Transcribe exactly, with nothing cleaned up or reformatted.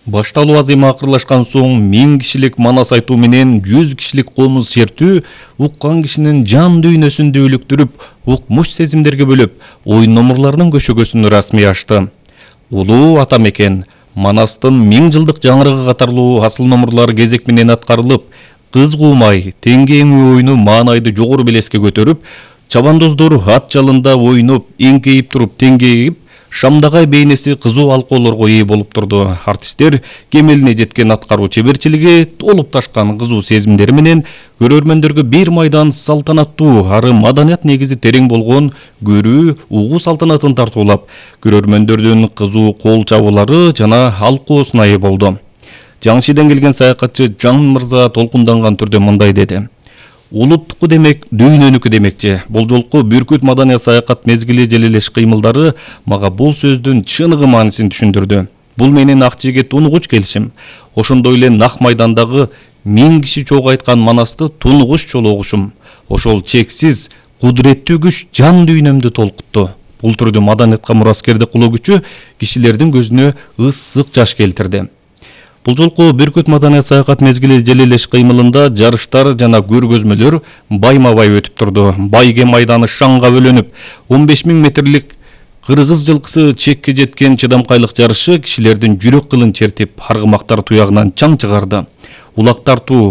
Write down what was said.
Башталуу азыйма акырлашкан соң миң кишилик манас айтуу менен жүз кишилик комуз сертүү уккан кишинин жан дүйнөсүндө үлүктүрүп, укмуш сезимдерге бөлөп, оюн номурларынын көшөгөсүн расмий ачты. Улуу ата мекен Манастын миң жылдык жаңырыгы катарлуу асыл номурлар кезек менен аткарылып, кыз куумай теңгеңүү оюну маанайды жогору белеске көтөрүп, чабандоздор ат жалында ойноп, эңкейип туруп теңгейип, Шамдагай бейнеси кызуу алкоолорго ээ болуп турду. Артисттер кемелине жеткен аткаруу чеберчилиги, толуп ташкан кызуу сезимдери менен көрөрмөндөргө бир майдан салтанаттуу, ары маданият негизи терең болгон көрүү, угуу салтанатын тартуулап, көрөрмөндөрдүн кызуу кол чабуулары жана алкоосуна ээ болду. Жаңшиден келген саякатчы Жан Мырза толкунданган түрдө мындай деди: Улуттуку демек, дүйнөнүкү демекчи. Бул жолку Бүркүт маданият саякат мезгили желелеш кыймылдары мага бул сөздүн чыныгы маанисин түшүндүрдү. Бул менин ак жигит тунугуч келишим. Ошондой эле Нак майдандагы миң киши чогуу айткан манасты тунугуч чологушум. Ошол чексиз, кудуреттүү күч жан дүйнөмдү толкутту. Бул түрдүү маданиятка мураскерди кылуу күчү кишилердин көзүнө ысык жаш келтирди. Бул жолку Бүркүт маданият саякат мезгили желелеш кыймылында жарыштар жана көргөзмөлөр байма-бай өтүп турду. Байге майданы шаңга бөлөнүп, он беш миң метрлик кыргыз жылкысы чекке жеткен чыдамкайлык жарышы кишилердин жүрөк кылын чертип, аргымактар туягынан чаң чыгарды. Улак тартуу,